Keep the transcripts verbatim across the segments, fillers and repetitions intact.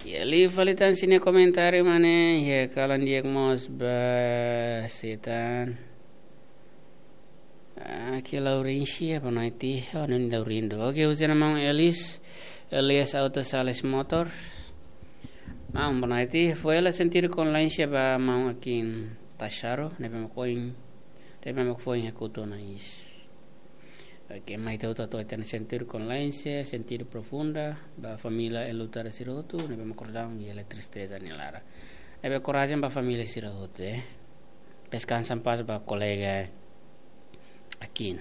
Ya, liu fali tan sira-nia komentáriu, mane, ya, kalan di'ak mós ba setan. Ah, ke Laurencia, boa noite. Oh, não, Laurindo. Oke, husu ona maun Elis, Elias Auto Sales Motor. Maun, boa noite. Foin hela sentidu Conlência ba maun Akin Tacharo, ne'ebé mak foin, ne'ebé mak foin hekutu ona iis. Oke, mai ita hotu atu hatene sentidu Conlência, sentidu Profunda, ba família enlutada sira hotu, ne'ebé mak akordaun iha tristeza nia laran. Ne'ebé korajen ba família sira hotu, eh. Descansa em paz ba kolega Akin.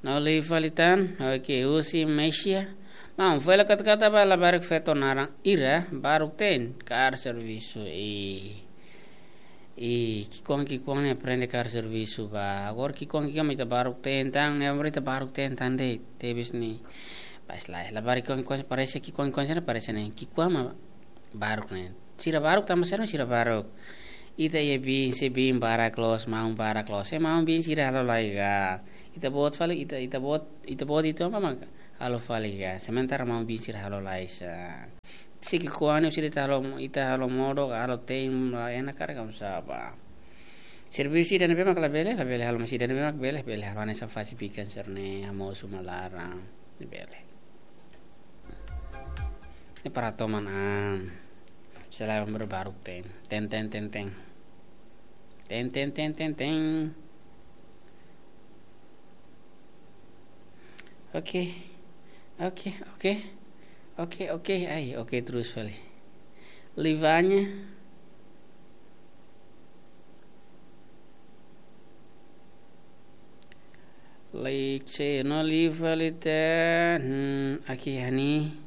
No liu fali tan, oke, husi Mesia. Maun, foin hela katakata ba labarik feto naran Ira, baruk te'in, kaer servisu, i, i, ki'ikoan, ki'ikoan ne'e aprende kaer servisu ba. Agora ki'ikoan, ki'ikoan mak ita baruk te'in tan, ne'e agora ita baruk te'in tan de'it, tebes ne'e. Pas lai, labarik ki'ikoan, ki'ikoan parese, ki'ikoan, ki'ikoan sira parese ne'e. Ki'ikoan mak baruk ne'e. Sira baruk tanba sira, sira baruk. Ita iha biin, se biin barak loos, maun barak loos. Se maun biin sira halo lai ka. Ita-boot fali, ita, ita-boot, ita-boot ita-boot mak halo fali ka. Sementara maun biin sira halo lai sa. Se ki'ikoan ne'e sira ita halo, ita halo modo ka halo te'in la enak karik kamu saba. Servisu ida ne'ebé mak labele, labele halo, mas ida ne'ebé mak bele, bele halo, hanesan fase bikan sira-ne'e, hamosu malaran, labele. Ne'e para toman an. Selain berbaruk te'in. Te'in, te'in, te'in, te'in. Te'in, te'in, te'in, te'in, te'in. Oke. Oke, oke. Oke, oke. Ai, oke terus fali. Livanya. Like, no liu fali tan. Hmm, oke, Hani.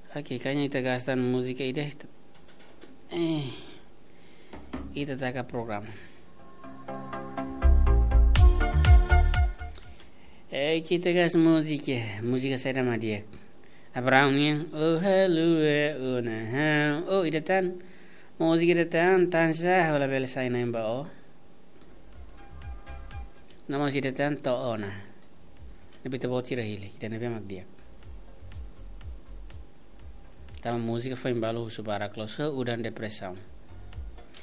Oke, kayaknya ita gasta múzika ida. Eh, ita taka programa. Eh, ita gasta múzika, múzika saida mak di'ak. Abraham nian, oh, hello, eh, oh, nah, ha. Oh, ida tan. Múzika ida tan, tan sa, ha'u labele sai na'in ba ó. Namun ida tan to'o ona. Ne'ebé ita-boot sira hili, ida ne'ebé mak di'ak. Tanba múzika foin balu husu barak loos, udan depresaun.